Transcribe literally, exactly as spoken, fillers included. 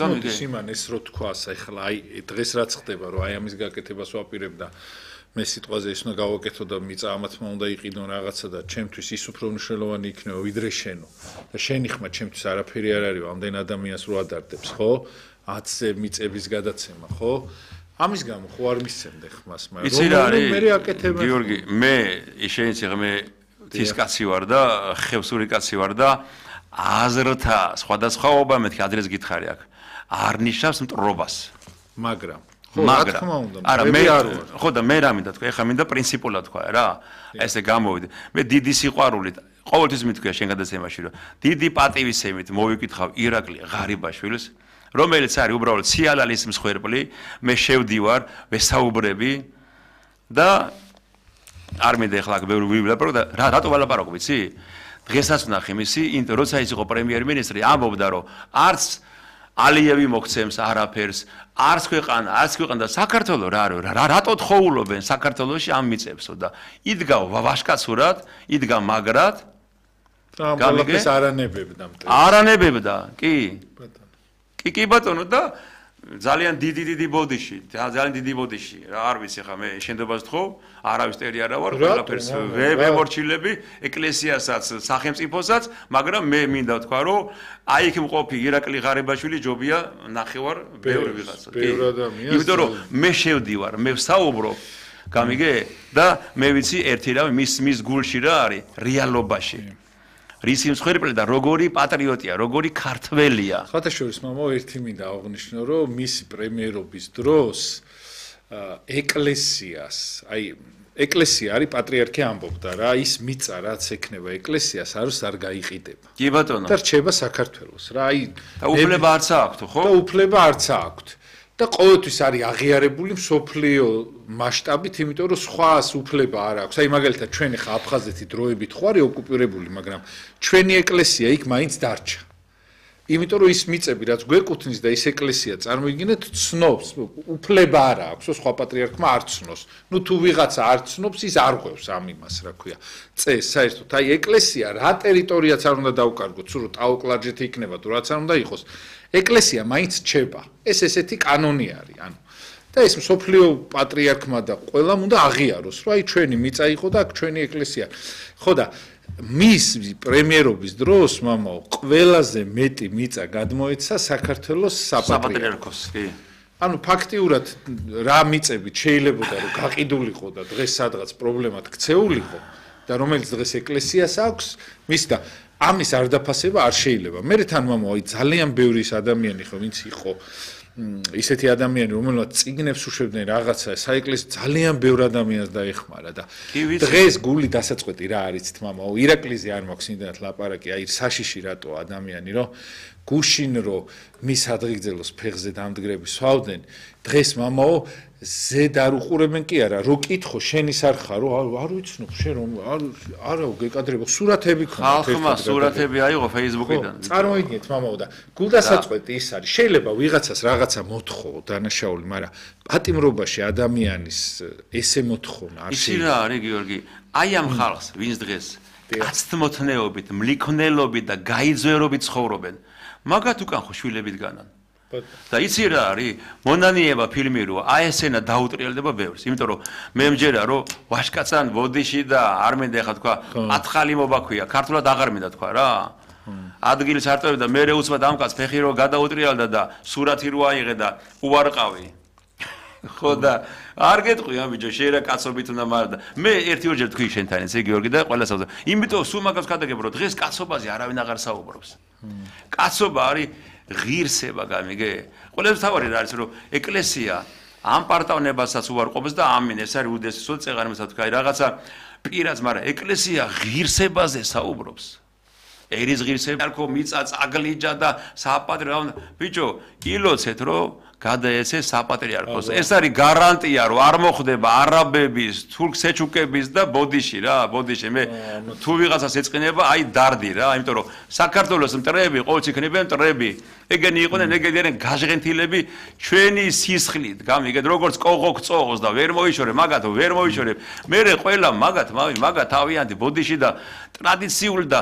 მოდის იმან ეს რო თქვას, ეხლა აი დღეს რაც ხდება, რომ აი ამის გაკეთებას ვაპირებ და მე სიტყვაზე ის უნდა გავაკეთო და მიწა ამათმა უნდა იყიდო რაღაცა და ჩემთვის ის უფრო მნიშვნელოვანი იქნება ვიდრე შენო. და შენი ხმა ჩემთვის არაფერი არ არის, ამდენ ადამიანს რო ადარდებს, ხო? ათზე მიწების გადაცემა, ხო? ამის გამო ხო არ მისცემდე ხმას, მაგრამ მე აკეთებ. გიორგი, მე შენიც მე თის კაცი ვარ და ხევსური კაცი ვარ და აზრთა სხვადასხვაობა მეთქი ადრეს გითხარი აქ. არ ნიშნავს მტრობას. მაგრამ ხო, რა თქმა უნდა. არა, მე ხო და მე რა მინდა თქვა, ეხლა მინდა პრინციპულად თქვა რა. ესე გამოვიდე. მე დიდი სიყვარულით ყოველთვის მithქვია შენ გადაცემაში, რომ დიდი პატივისცემით მოვიკითხავ ირაკლი ღარიბაშვილს, რომელიც არის უბრალოდ სიალალის მსხვერპლი, მე შევდივარ, ვესაუბრები და არ მინდა ეხლა აქ ბევრი ვილაპარო და რატო ვალაპარაკო, ვიცი? დღესაც ვნახე მისი, როცა ის იყო პრემიერ-მინისტრი, ამბობდა, რომ არც ალიევი მოგცემს არაფერს, არც ქვეყანა, არც ქვეყანა და საქართველო რა რა რატო თხოვულობენ საქართველოში ამ მიწებსო და იდგა ვაშკაცურად, იდგა მაგრად. გამიგეს არანებებდა მტევს. არანებებდა, კი. კი კი ბატონო და ძალიან დიდი დიდი ბოდიში, ძალიან დიდი ბოდიში. რა არ ვიცი ხა მე შენდობას თხოვ, არავის ტერი არა ვარ, ყველაფერს ვემორჩილები, ეკლესიასაც, სახელმწიფოსაც, მაგრამ მე მინდა თქვა, რომ აი იქ მყოფი ირაკლი ღარიბაშვილი ჯობია ნახევარ ბევრი ვიღაცა. ბევრი ადამიანი. იმიტომ რომ მე შევდივარ, მე ვსაუბრობ, გამიგე? და მე ვიცი ერთი რამე მის მის გულში რა არის, რეალობაში. რისი მსხვერპლი და როგორი პატრიოტია, როგორი ქართველია. ხათაშორის მამა ერთი მინდა აღნიშნო, რომ მისი პრემიერობის დროს ეკლესიას, აი ეკლესია არის პატრიარქი ამბობდა რა, ის მიწა რაც ექნება ეკლესიას არც არ გაიყიდება. კი ბატონო. და რჩება საქართველოს რა, აი და უფლება არც აქვს, ხო? და უფლება არც აქვს. და ყოველთვის არის აღიარებული მსოფლიო მასშტაბით, იმიტომ რომ სხვას უფლება არ აქვს. აი მაგალითად ჩვენ ხა აფხაზეთი დროებით ხო არის ოკუპირებული, მაგრამ ჩვენი ეკლესია იქ მაინც დარჩა. იმიტომ რომ ის მიწები რაც გვეკუთვნის და ის ეკლესია წარმოიდგინეთ ცნობს, უფლება არ აქვს, სხვა პატრიარქმა არ ცნოს. ნუ თუ ვიღაცა არ ცნობს, ის არ ღვევს ამ იმას, რა ქვია. წეს საერთოდ აი ეკლესია რა ტერიტორიაც არ უნდა დაუკარგოთ, სულ ტაოკლარჯეთი იქნება თუ რაც არ უნდა იყოს. ეკლესია მაინც რჩება. ეს ესეთი კანონი არის, ანუ და ეს მსოფლიო პატრიარქმა და ყველამ უნდა აღიაროს, რომ აი ჩვენი მიწა იყო და აქ ჩვენი ეკლესია. ხო და მის პრემიერობის დროს მამაო ყველაზე მეტი მიწა გადმოეცა საქართველოს საპატრიარქოს, კი. ანუ ფაქტიურად რა მიწებით შეიძლებოდა რომ გაყიდულიყო და დღეს სადღაც პრობლემად ქცეულიყო და რომელიც დღეს ეკლესიას აქვს, მის და ამის არ დაფასება არ შეიძლება. მე თან მამაო აი ძალიან ბევრი ადამიანი ხო ვინც იყო ისეთი ადამიანი რომელსაც წიგნებს უშვებდნენ რაღაცა საეკლესიო ძალიან ბევრ ადამიანს დაეხმარა და დღეს გული დასაწყვეტი რა არის თმამაო ირაკლიზე არ მაქვს იმდანაც ლაპარაკი აი საშიში რატო ადამიანი რომ გუშინ რომ მის ადღიგძელოს ფეხზე დამდგრები სვავდნენ დღეს მამაო ზედ არ უყურებენ კი არა რო კითხო შენის არ ხარო არ ვიცნობ შენ რომ არ არა გეკადრებო სურათები ქონდა ხალხმა სურათები აიღო Facebook-იდან წარმოიდგინეთ მამაო და გულდასაწყვეტი ის არის შეიძლება ვიღაცას რაღაცა მოთხო დანაშაული მაგრამ პატიმრობაში ადამიანის ესე მოთხოვნა არ შეიძლება ისი რა არის გიორგი აი ამ ხალხს ვინც დღეს აცთმოთნეობით მლიქნელობით და გაიძვერობით ცხოვრობენ მაგათ უკან ხო შვილებით განან და იცი რა არის მონანიება ფილმი რო აი ესენა დაუტრიალდება ბევრს იმიტომ რომ მე მჯერა რომ ვაშკაცან ვოდიში და არ მინდა ეხა თქვა ათხალი მობაქვია ქართულად აღარ მინდა თქვა რა ადგილის არტოვები და მე უცბად ამკაც ფეხი რო გადაუტრიალდა და სურათი რო აიღე და უარყავი ხო და არ გეტყვი ამ ბიჭო შეიძლება კაცობით უნდა მარდა მე ერთი ორჯერ თქვი შენთან ესე გიორგი და ყველას ავდა იმიტომ სულ მაგას გადაგებ რომ დღეს კაცობაზე არავინ აღარ საუბრობს კაცობა არის ღირსება გამიგე ყველას თავარი რა არის რომ ეკლესია ამ პარტავნებასაც უარყოფს და ამინ ეს არის უდესესო წეღარიმასაც თქვა რაღაცა პირაც მაგრამ ეკლესია ღირსებაზე საუბრობს ერის ღირსება არქო მიწა წაგლიჯა და საპატრიარქო ბიჭო ილოცეთ რომ გადაეცე საპატრიარქოს ეს არის გარანტია რომ არ მოხდება არაბების თურქ-სეჩუკების და ბოდიში რა ბოდიში მე თუ ვიღაცას ეწყინება აი დარდი რა იმიტომ რომ საქართველოს მტრები ყოველთვის იქნებიან მტრები ეგენი იყვნენ ეგენი გაჟღენთილები ჩვენი სისხლით გამიგეთ როგორც კოღო გწოღოს და ვერ მოიშორე მაგათ ვერ მოიშორე მე ყველა მაგათ მაგათ თავიანთი ბოდიში და ტრადიციული და